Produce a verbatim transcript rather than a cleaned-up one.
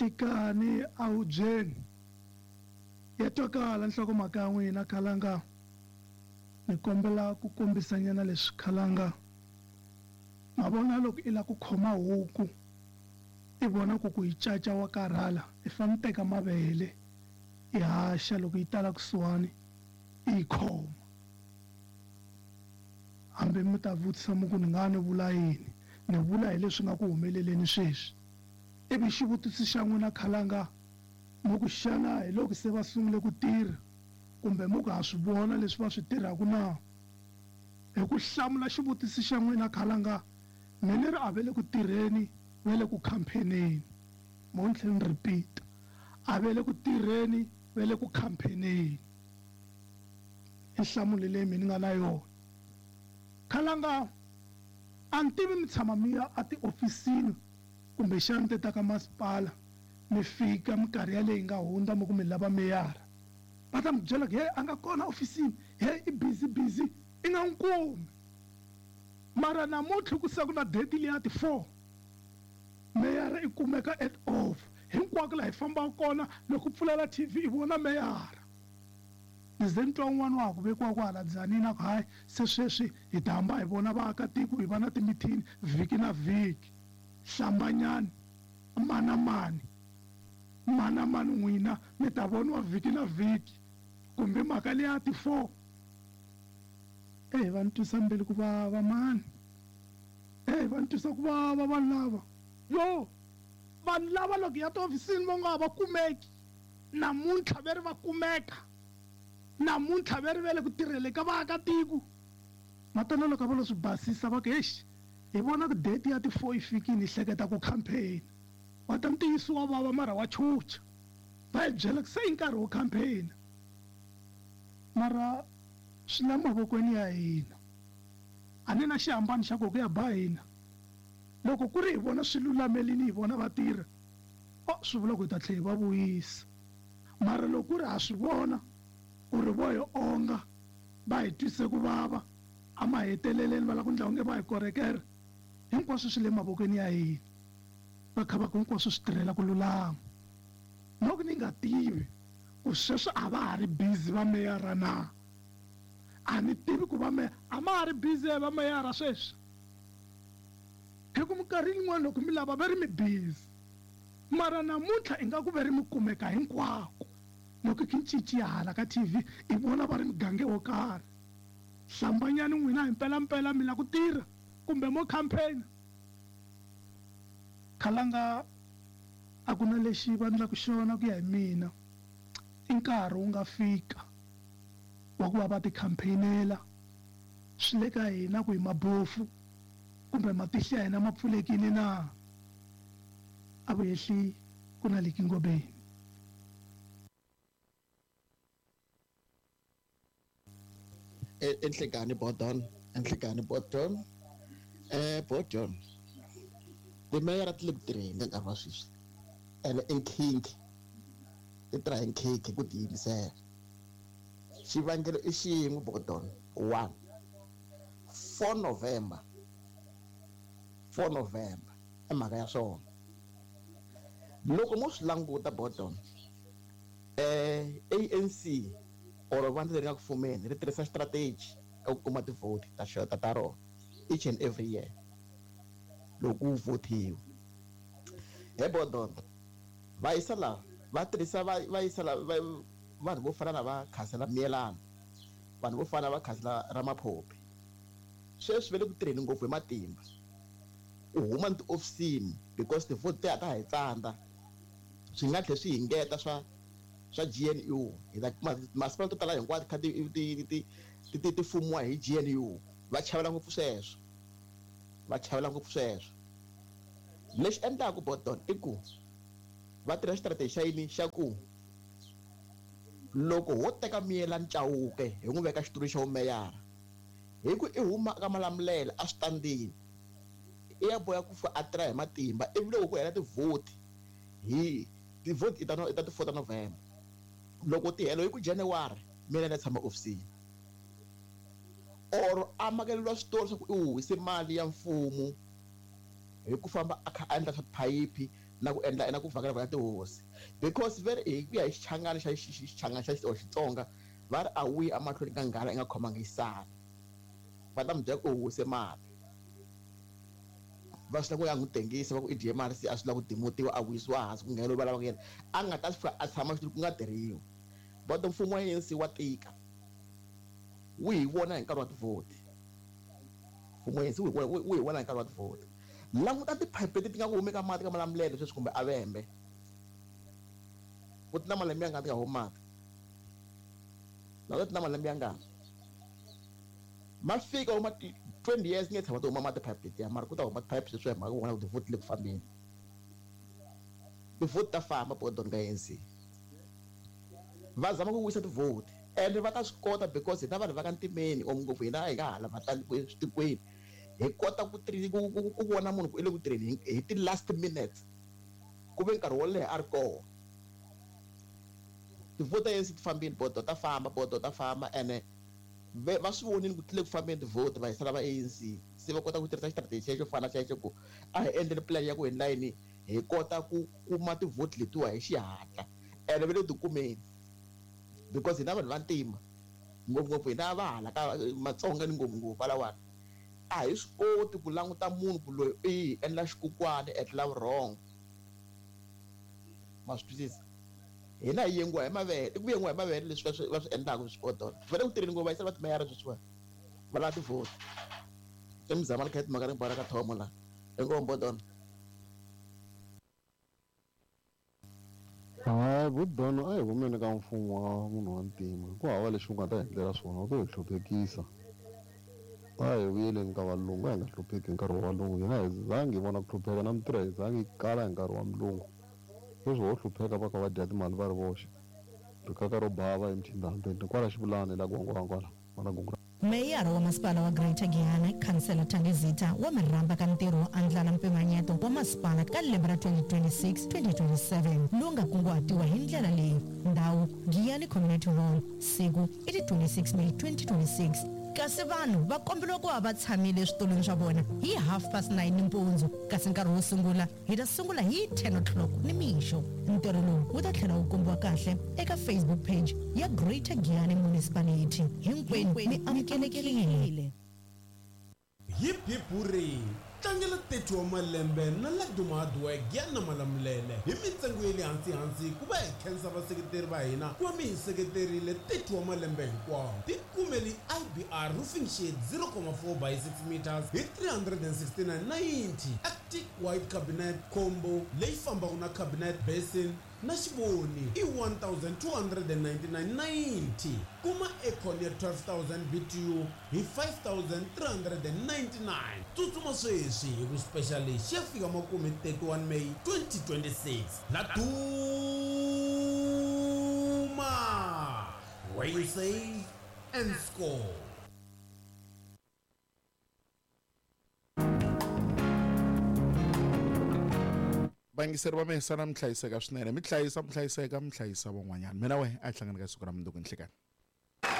Nhlikani ahubyeni ya twakala nhlokomhaka ya n'wina Khalanga. Ni kombela ku kombisanyana leswi Khalanga. Ma vona loko i lava ku khoma huku i vona ku ku yi caca wa karhala i fanele teka mavele i haxa loko yi tala kusuhani i yi khoma. Hambi mi ta vutisa mi ku ni nga ni vula yini, ni vula hi leswi nga ku humeleleni sweswi. Ivi xivutiso xa n'wina Khalanga mi ku xana hi loko se va sungule ku tirha kumbe mi ku ha swi vona leswi va swi tirhaka na? Hi ku hlamula xivutiso xa n'wina Khalanga, mi ni ri a ve le ku tirheni, va le ku campaigneni. Mo ni tlhela ni repeat, a ve le ku tirheni, va le ku campaigneni. I nhlamulo leyi mi ni nga na yona. Khalanga, a ni tivi mi tshama mi ya etihofisini kumbexana ti ta ka masipala mi fika minkarhi yaleyi nga hundza mi ku mi lava meyara, va ta mi byela ku he a nga kona ofisini, he i busy busy, i nga n'wi kumi. Mara namuntlha ku se ku na date liya ti four, meyara i kumeka at off hinkwako laha hi fambaka kona. Loko u pfulela T V i vona meyara. Ni ze ni twa un'wana wa ha ku vekiwa kwala Dzanini a ku hayi se sweswi hi ta hamba hi vona vaakatiko hi va na timithini vhiki na vhiki. Hlambanyani mana mani mana mani n'wina mi ta voniwa vhiki na vhiki kumbe mhaka liya ti four. Eh va ni twisa mbilu ku vava mani, eh va ni twisa ku vava vanhu lava. Yo vanhu lava loko ya tihofisini va nga ha va kumeki namuntlha ve ri va kumeka, namuntlha ve ri ve le ku tirhele ka vaakatiko. Matana loko va lo swi basisa va ku hexi hi vona ku date ya ti four yi fikile hi hleketa ku campaign. Wa ta ntiyiso wa vava mara wa chucha, va hi byela ku se i nkarhi wo campaign. Mara swi le mavokweni ya hina, a ni na xihambano xa ku ku ya ba hina. Loko ku ri hi vona swi lulamelini hi vona va tirha, o swi vula ku hi ta tlhela hi va vuyisa. Mara loko ku ri ha swi vona ku ri vo hi onga va hi twise ku vava a maheteleleni va lava ku endla onge va hi korekela, hinkwaswo swi le mavokweni ya hina. Va kha va ku hinkwaswo swi tirhela ku lulama. Loko ni nga tivi ku sweswi a va ha ri busy va meyara na, a ni tivi ku va meya a ma ha ri busy va meyara sweswi. Hi ku minkarhi yin'wana loko mi lava va ri mi busy, mara namuntlha ingaku va ri mi kumeka hinkwako. Loko ki cinci ya hala ka T V i vona va ri mugange wo karhi. Hlambanyani n'wina hi mpelampela mi lava ku tirha kumbe mo campaign. Khalanga a ku na lexi va endlaka xona ku ya hi mina. I nkarhi wu nga fika wa ku va va ti-campaignela. Swi le ka hina ku hi mabofu kumbe matihlo ya hina ma pfulekile na. A vu hehli ku na Lucky Ngobeni. Enhlekani Bodon, Enhlekani Bodon, eh Bodon. Timeyara ti le ku tirheni ka nkarhi wa sweswi. Ene i nkhinkhi, ti tirha hi nkhinkhi ku tiyimisela. Xivangelo i xin'we Bodon, one. four November, four November i mhaka ya swona. Loko mo swi languta Bodon, eh A N C or vandla leri nga ku fumeni ri tirhisa strategy ka ku kuma ti-vote ta xota ta rona each and every year loko ku votiwa. He Bodon, va yisa lava va tirhisa va va yisa lava vanhu vo fana na va khansela Miyelani, vanhu vo fana na va khansela Ramaphopi. Sweswi va le ku tirheni ngopfu hi matimba ku huma ni tihofisini because ti-vote ti ta hi tsandza. Swi nga tlhela swi hi ngeta swa swa G N U. Hi ta kuma masipala to tala hinkwato kha ti ti ti ti ti ti fumiwa hi G N U. Va chavela ngopfu sweswo, va chavela ngopfu sweswo. Lexi endlaka Bodon i ku va tirha strategy xa yini xa ku loko ho teka Miyelani Chauke hi n'wi veka xitulu xa vumeyara, hi ku i huma ka Malamulele a switandini, i ya boya ku fa a tirha hi matimba. Ivi loko ku hela ti-vote hi ti-vote i ta i ta ti four ta November, loko ti hela hi ku January Miyelani a tshama ofisini or a makeleriwa switori swa ku i huhise mali ya mfumo hi ku famba a kha a endla swa tiphayiphi Na ku endla na ku vhakela vhakela tihosi because very hi ku ya hi xichangani xa xichangani xa Xitsonga va ri a wu yi emahlweni ka nghala i nga khomangi yisana va ta mi byela ku u wise mali va swi lava ku ya n'wi tengisa va ku i dye mali se a swi lava ku dimutiwa a wisiwa hansi ku nghena loyi va lavaka yena a nga ta fika a tshama xitulu ku nga tirhiwi but mfumo wa A N C wa tika wu hi vona hi nkarhi wa tivhoti mfumo wa A N C wu hi vona hi nkarhi wa tivhoti languta tiphayiphi leti ti nga ku humi ka mati ka Malamulele sweswi kumbe Avembe ku ti na malembe ya nga ti nga humi mati languta ti na malembe ya ngani ma fika huma twenty years nge tshama ti huma mati pipe letiya mara ku ta huma tiphayiphi sweswi hi mhaka ku vona ku tivhoti le ku fambeni tivhoti ta famba bodon ka A N C va zama ku wisa tivhoti ende va ta swi kota because hina vanhu va ka ntimeni or ngopfu hina hi nga hala vatikweni hi kota ku ku ku vona munhu ku i le ku tirheni hi ti last minutes ku ve nkarhi wo leha a ri kona tivhoti ta A N C ti fambile bodo ta famba bodo ta famba ene va swi vonile ku tlile ku fambeni tivhoti va hisela va A N C se va kota ku tirhisa xitarateni xexo fana xexo ku a hi endleni plan ya ku hi layini hi kota ku kuma tivhoti letiwa hi xihatla ene va le tikumeni because hina vanhu va ntima ngopfungopfu hina va hala ka Matsonga ni ngopfungopfu valawani a hi swi koti ku languta munhu ku loyi i hi endla xikukwani etlela vurhongo ma swi twisisa hina hi yengiwa hi mavele i ku yengiwa hi mavele leswi va swi va swi endlaka swi kota va le ku tirheni ngopfu va yisela va timeyara sweswiwani va lava tivhoti i muzama ni kha timhaka ni bara ka thomo laha inkomu bodona hayi budona a hi humeni ka mfumo wa munhu wa ntima ku hava lexi u nga ta endlela swona u to hi hluphekisa a hi vuyeleni ka valungu a hi nga hlupheki hi nkarhi wa valungu hina hi zangi hi vona ku hlupheka na mitirho hi zangi yi kala hi nkarhi wa mulungu sweswi ho hlupheka va kha va dya timali va ri voxe rikaka ro bava emthindambeni kwala xivulani la gwangwangwala vana gungu Meyara wa masipala wa Greater Giyani Khansela Thandizitha wa mirhamba ka ntirho wo andlala mpimanyeto wa masipala ka lembe ra twenty twenty-six twenty twenty-seven lowu nga kunguhatiwa hi ndlela leyi ndhawu Giyani Community Hall siku i ti twenty-six May twenty twenty-six kasi vanhu va komberiwa ku va va tshamile eswitulwini swa vona hi half past nine nimpundzu kasi nkarhi wo sungula hi ta sungula hi ten o'clock nimixo ntirho lowu wu ta tlhela wu kombiwa kahle eka Facebook page ya Greater Giyani Municipality hinkwenu mi amukelekile Hip hip hooray tlangela thirty wa malembe na Laduma Hardware Giyani na Malamulele hi mintsengo ya le hansi hansi ku va hi khensa vaseketeri va hina ku va mi hi seketerile thirty wa malembe hinkwawo tikumeli I B R roofing sheet zero point four by six meters hi three hundred and sixty-nine ninety Arctic white cabinet combo leyi fambaka na cabinet basin na xivoni i one thousand two hundred and ninety-nine ninety kuma aircon ya twelve thousand B T U hi five thousand three hundred and ninety-nine tsutsuma sweswi hi ku special lexi ya fika makume thirty-one May twenty twenty-six Laduma where you save and score. Vayingiseri va mina sana mi hlayiseka swinene mi hlayisa mi hlayiseka mi hlayisa van'wanyana mina wehe a hi hlangani ka siku ra mundzuku nhlikani.